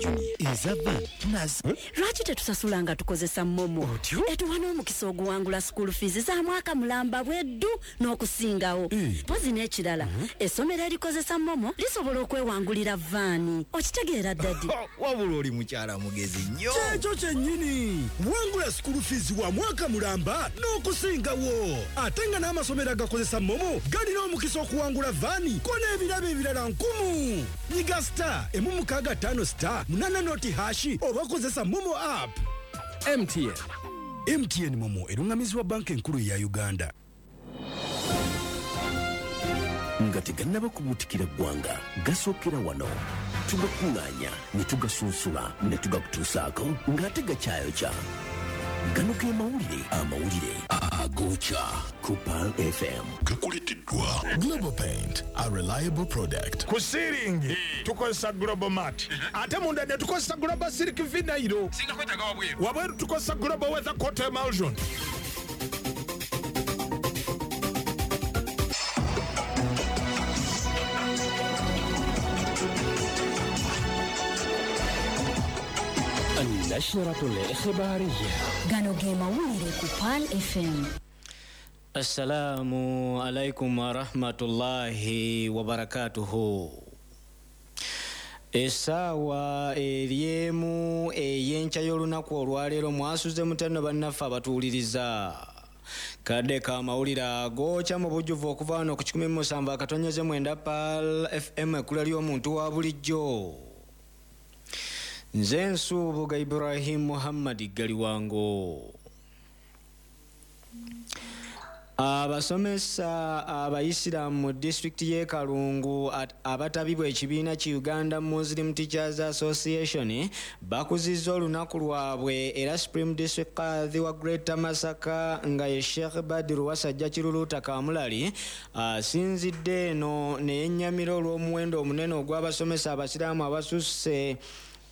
Junior, eza van nazo. Lwaki tetusasula nga tukozesa MoMo? Otyo? Etuwa n'omukisa oguwangula school fees za mwaka mulamba bweddu n'okusingawo. Mpozi n'ekirala, essomero erikozesa MoMo lisobola okwewangulira van. Okitegeera, daddy? Wabula oli mukyala mugezi nnyo. Kyekyo kyennyini. Wangula school fees wa mwaka mulamba n'okusingawo, ate nga n'amasomero agakozesa MoMo galina omukisa okuwangula van ko n'ebirabo ebirala nkumu. Nyiga *165*80# oba kozesa MoMo app. MTN. MTN MoMo eruŋŋamizibwa Banka Enkulu eya Uganda. Nga tegannaba kubuutikira ggwanga, gasookera wano, tugakuŋŋaanya ne tugasunsula ne tugakutuusaako ng'ate gakyayokya. Gano ge mawulire, amawulire agookya ku Pearl FM. Gakuleteddwa Global Paint, a reliable product. Ku ceiling tukozesa Global Mat, ate munda ne tukozesa Global Silk Vinyl. Singa kwetaaga wabweru? Wabweru tukozesa Global Weather Coat Emulsion. النشرة الإخبارية. Gano ge mawulire ku Pearl FM. Assalamu alaikum warahmatullahi wabarakatuhu. Essaawa eryemu ey'enkya y'olunaku olwaleero, mwasuze mutano bannaffe abatuwuliriza? Kadde ka mawulire agookya mu bujjuvu okuva wano ku 107.9 Pearl FM, ekkula ly'omuntu wa bulijjo. Nze Nsuubuga Ibrahim Muhammad Galiwango. Abasomesa Abayisiraamu mu disitulikiti y'e Kalungu abatabibwa ekibiina ki Uganda Muslim Teachers Association bakuzizza olunaku lwabwe, era Supreme District Kadhi wa Greater Masaka nga ye Sheikh Badiru Wasajja Kiruluuta Kamulali asinzidde eno ne yennyamira olw'omuwendo omunene ogw'abasomesa Abasiraamu abasusse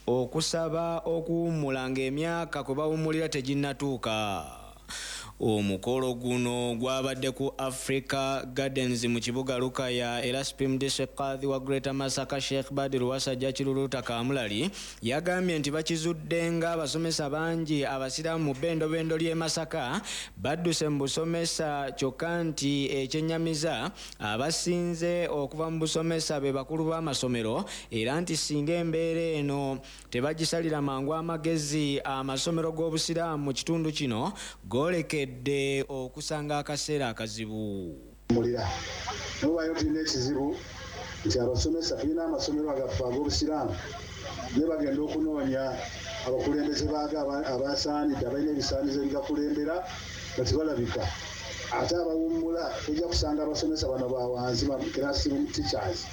okusaba okuwummula ng'emyaka kwe bawummulira teginnatuuka. Omukolo guno gwabadde ku Africa Gardens mu kibuga Lukaya, era Supreme District Kadhi wa Greater Masaka Sheikh Badiru Wasajja Kiruluuta Kamulali yagambye nti bakizudde ng'abasomesa bangi Abasiraamu mu bbendobendo ly'e Masaka badduse mu busomesa, kyokka nti ekyennyamiza abasinze okuva mu busomesa be bakulu b'amasomero, era nti singa embeera eno tebagisalira mangu amagezi, amasomero g'Obusiraamu mu kitundu kino goolekedde okusanga akaseera akazibu. Mulira nobayo tulina ekizibu nti abasomesa, tulina amasomero agaffe ag'Obusiraamu, naye bagenda okunoonya abakulembeze baago abasaanidde, abalina ebisaanizo ebigakulembera, nga tebalabika. Ate abawummula, tojja kusanga abasomesa bano bawansi, ba classroom teachers,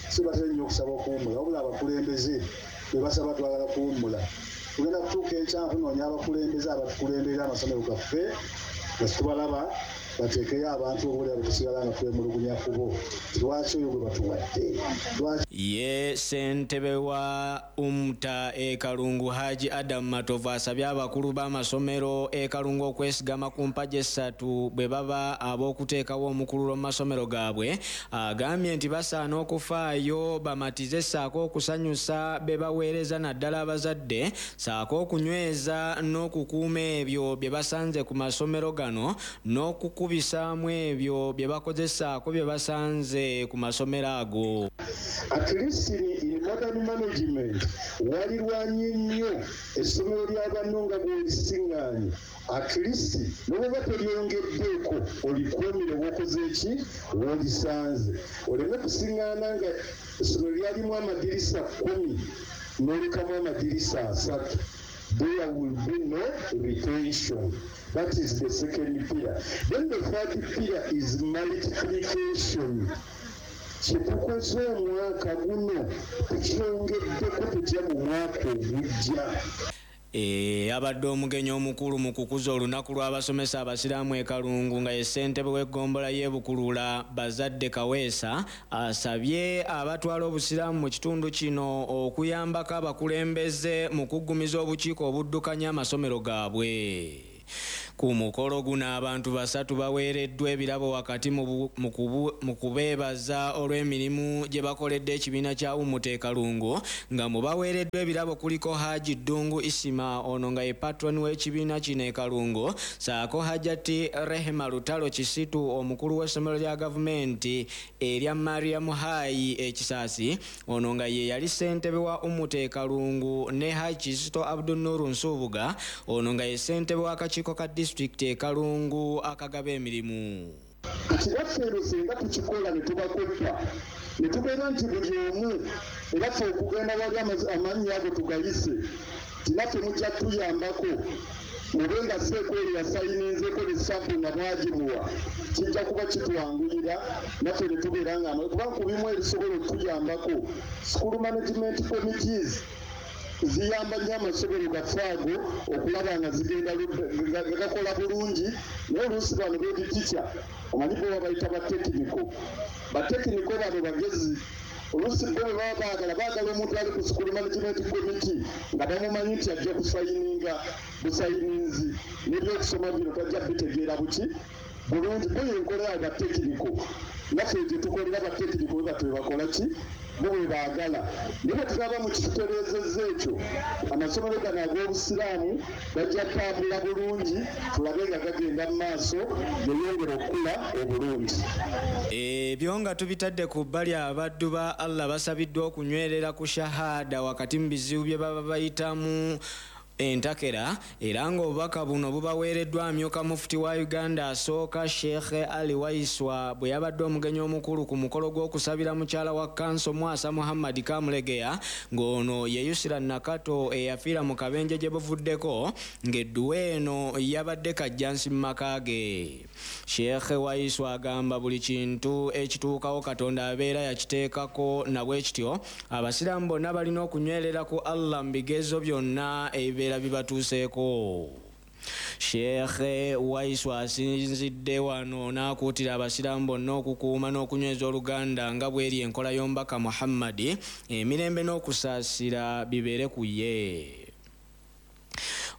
si batera nnyo okusaba okuwummula, wabula abakulembeze be basaba, "Twagala kuwummula." Tugenda kutuuka enkya kunoonya abakulembeze abatukulemberera amasomero gaffe nga situbalaba. Bateekeyo abantu oboolya bwe tusigala nga twemulugunya kubo, lwaki oyo gwe batuwadde? Lwaki? Ye ssentebe wa UMTA e Kalungu, Haji Adam Matovu, asabye abakulu b'amasomero e Kalungu okwesigama ku mpagi essatu bwe baba ab'okuteekawo omukululo mu masomero gaabwe. Agambye nti basaana okufaayo bamatize ssaako okusanyusa be baweereza, naddala abazadde, ssaako okunyweza n'okukuuma ebyo bye basanze ku masomero gano n'okukubisaamu ebyo bye bakozesaako bye basanze ku masomero ago. At least in modern management, walirwanye nnyo essomero lya banno nga bw'olisiŋŋaanye, at least n'oba tolyongeddeeko, olikuumire w'okoze eki w'olisanze, oleme kusiŋŋaana nga essomero lyalimu amadirisa 10 n'olekamu amadirisa 3. There will be no retention. That is the second pillar. Then the third pillar is multiplication. Kyetukoze omwaka guno tukyongeddeko tutya mu mwaka ogujja? Abadde omugenyi omukulu mu kukuza olunaku lw'abasomesa Abasiraamu e Kalungu nga ye ssentebe w'eggombolola y'e Bukulula, Bazadde Kaweesa, asabye abatwala Obusiraamu mu kitundu kino okuyambako abakulembeze mu kuggumiza obukiiko obuddukanya amasomero gaabwe. Ku mukolo guno abantu basatu baweereddwa ebirabo wakati mu kubeebaza olw'emirimu gye bakoledde ekibiina kya Umuta e Kalungu, nga mu baweereddwa ebirabo kuliko Haji Ddungu Isima, ono nga ye patron w'ekibiina kino e Kalungu, ssaako Hajati Rehema Lutalo Kisitu, omukulu w'essomero lya gavumenti erya Mariam High e Kisaasi, ono nga ye yali ssentebe wa Umuta e Kalungu, ne Haji Kizito Abdunuru Nsubuga, ono nga ye ssentebe w'akakiiko ka disitulikiti e Kalungu akagaba emirimu. Kati eno singa tukikola ne tubakoppa ne tubeera nti buli omu era ffe okugenda wali amannya ago tugayise tinaffe mujja tuyambako mube nga seekweri yasayininzeeko ne sampu nga mwagimuwa, kijja kuba kitwanguyira naffe ne tubeera nga kuba ku bimu ebisobola okutuyambako school management committees ziyamba nnyo amasomero gaffe ago okulaba nga zigenda nga gakola bulungi. Naye oluusi bano beeditica omanyi bo babayita batekiniko, batekiniko bano bagezi, oluusi bo bwe baba baagala omuntu ali ku school management committee nga bamumanyi nti ajja kusayininga busayininzi n'ebyokusoma bino tajja bitegeera buki bulungi. Bo yenkola yaabwe batekiniko, naffe gye tukolera batekiniko bwe batyo bakola ki bo bwe baagala. Naye bwe tulaba mu kitutereezezza ekyo, amasomero gano ag'obusiraamu gajja kutambula bulungi, tulabe nga gagenda mu maaso geyongera okukula obulungi. Ebyo nga tubitadde ku bbali, abaddu ba Allah basabiddwa okunywerera ku shahada wakati mu bizibu bye baba bayitamu entakera, era ng'obubaka buno bubaweereddwa amyuka mufuti wa Uganda asooka Sheikh Ali Waiswa bwe yabadde omugenyi omukulu ku mukolo gw'okusabira mukyala wa kanso Mwasa Muhammad Kamulegeya, ng'ono ye Yusira Nakato eyafiira mu kabenje gye buvuddeko, ng'edduwa eno yabadde Kajjansi mu maka ge. Sheikh Waiswa agamba buli kintu ekituukawo Katonda abeera yakiteekako, na bwe kityo abasiraamu bonna balina okunywerera ku Allah mu bigezo byonna ebibeera bibatuuseeko. Sheikh Waiswa asinzidde wano n'akuutira abasiraamu bonna okukuuma n'okunyweza oluganda nga bw'eri enkola y'omubaka Muhammadi, emirembe n'okusaasira bibeere ku ye.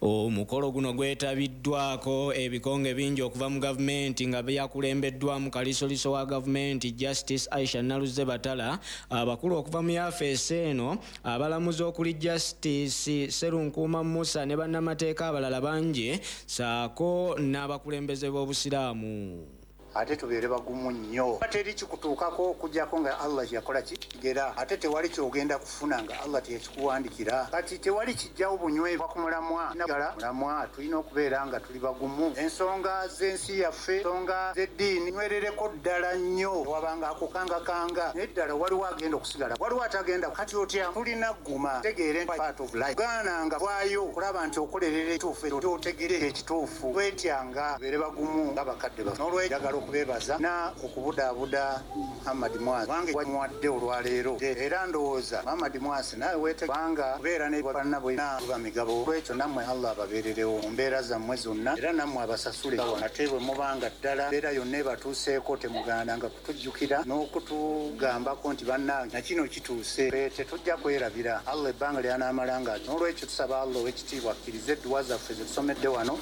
Omukolo guno gwetabiddwako ebikonge bingi okuva mu gavumenti nga byakulembeddwamu kalisoliso wa gavumenti Justice Aisha Naluze Batala, abakulu okuva mu yafeesi eno, abalamuzi okuli Justice Serunkuuma Musa ne bannamateeka abalala bangi, ssaako n'abakulembeze b'obusiraamu. Ate tubeere bagumu nnyo, teri kikutuukako okuggyako nga Allah yakola kigera, ate tewali kyogenda kufuna nga Allah teyakikuwandikira. Kati tewali kijjawo bunywevu ku mulamwa nagala mulamwa, tulina okubeera nga tuli bagumu. Ensonga z'ensi yaffe, ensonga z'eddiini nywerereko ddala nnyo, wabanga akukangakanga naye ddala waliwo agenda okusigala, waliwo atagenda. Kati otya tulina gguma tegeere part of life, gaana nga vaayo okulaba nti okolerera ekituufu, otegere ekituufu, twetyanga tubeere bagumu nga bakadde baffe. N'olwekyo okubeebaza na okubudaabuda Muhammad Mwasi wange wamuwadde olwaleero, era ndowooza Muhammad Mwasi nawe weete kubanga kubeera ne bannabwe buba migabo. Olwekyo nammwe Allah ababeererewo mu mbeera zammwe zonna, era nammwe abasasule. Ate bwe mubanga ddala mbeera yonna ebatuuseeko temugandanga kutujjukira n'okutugambako nti bannange na kino kituuse, tetujja kwerabira Allah ebbanga ly'anaamalanga. N'olwekyo tusaba Allah ow'ekitiibwa akkirize edduwa zaffe ze tusomedde wano,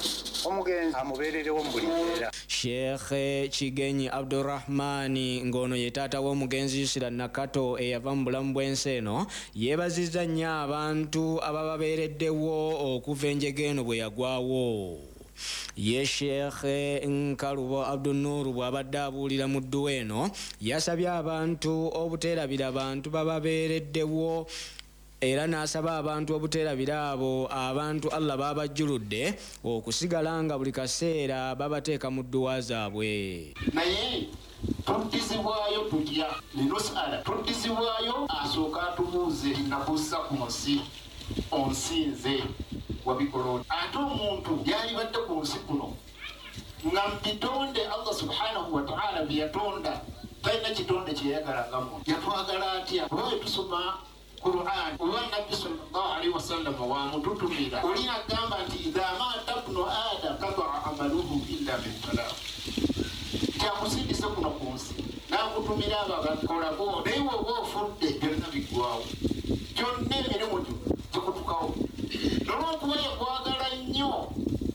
omugenzi amubeererewo mu buli mbeera. Sheikh Kigenyi Abdurrahmani ng'ono ye taata w'omugenzi Yusira Nakato eyava mu bulamu bw'ensi eno, yeebazizza nnyo abantu abababeereddewo okuva enjega eno bwe yagwawo. Ye Sheikh Nkalubo Abdunuru bw'abadde abuulira mu dduwa eno, yasabye abantu obuteerabira bantu bababeereddewo, era n'asaba abantu obuteerabira abo abantu Allah babajjuludde okusigala nga buli kaseera babateeka mu dduwa zaabwe. Naye tuddizibwayo tutya? Linusala tuddizibwayo asooka atubuuze nakussa ku nsi onsinze wabikola. Ate omuntu yalibadde ku nsi kuno nga mu bitonde Allah subhanahu wa ta'ala bye yatonda talina kitonde kye yayagala nga muntu. Yatwagala atya? Kuba bwe tusoma Qur'an oba Nabbi sallallahu alaihi wasallam wamututumira oli agamba nti idha mata ibnu adam qata'a amaluhu illa min talaq, kyakusindise kuno ku nsi n'akutumira abo abakolako, naye bw'oba ofudde byonna biggwawo, kyonna emirimu gyo gikutukawo. Nolwokuba yakwagala